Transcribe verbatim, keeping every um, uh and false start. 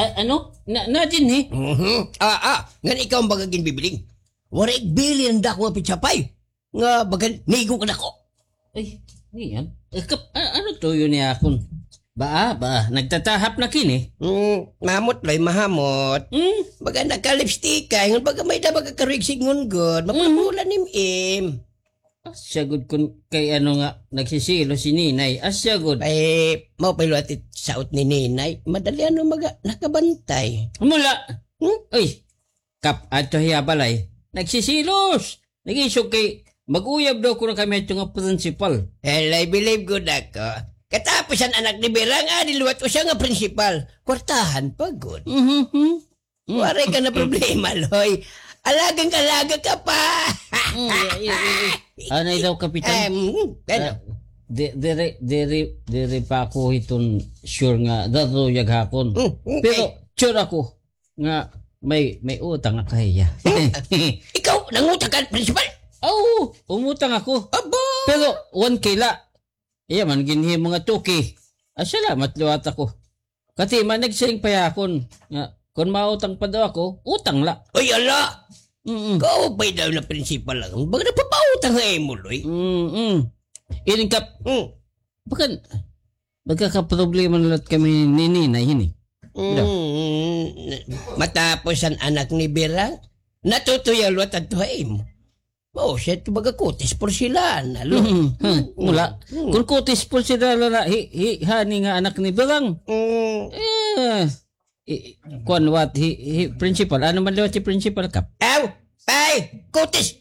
A-, ano? Na, na dinhi? Mhm. Ah, ah. Ngan ikaw an baga ginbibiling. Waray igbilin an dako nga pitsapay. Nga baga nigo kadako. Ay, niyan. Eh, kap-, a-, ano tuyo niya akon? Baa, baa, nagtatahap na kini? Hmm, mahamot, Loy, mahamot. Hmm? Baga nakalipstick ka, ingon baga may da baga karuyag sidngon gud. Mapula-pula ni Im-im. Asya gud kun kay ano nga nagsisilos si Ninay. Asya gud. Ay, mao pa liwat it saot ni Ninay. Madali ano maga-, nakabantay. Mula. Hmm? Uy, Kap, adto hiya balay. Nagsisilos. Nag-isog kay mag-uyab daw kuno kami adto nga principal. Hala, believe gud ako. Katapos an anak ni Birang, adi liwat usa nga principal. Kwartahan pa gud. Mhm, mhm. Mm. Waray ka na problema, Loy. Alagang alaga ka pa. Mm, yeah, yeah, yeah, yeah. Anay daw, Kapitan. Em, ano? Ah, di-, diri, diri, diri pa ako hiton sure nga daduyag hakon. Mm, mm, Pero, ay. Sure ako nga may, may utang ako hiya. Hmm? Ikaw, nangutang ka, principal? Oo, umutang ako. Aba! Pero, one K la. Iya man, ginhimo nga two K. Ah, salamat liwat ako. Kati man, nagsiring pa hiya akon nga, kun mautang pa daw ako, utang la. Ay, ala! Mm-mm. Kaupay daw na principal lang. Baga nagpapautang ha imo, Loy. Mm-mm. Iring Kap. Mm. Baga, nagkakaproblema na liwat kami ni Ninay hini. Mm, matapos an anak ni Birang, natutuyaw liwat adto ha imo. Mao siya ito baga kutis porselana, lo. Mm, ha, mula. Mm. Kun kutis porselana na, hi, hi, hani nga anak ni Birang. Mm. Eh, i-, kuan liwat, hi, hi, principal. Ano man liwat si principal, Kap? Aw, ay, kutis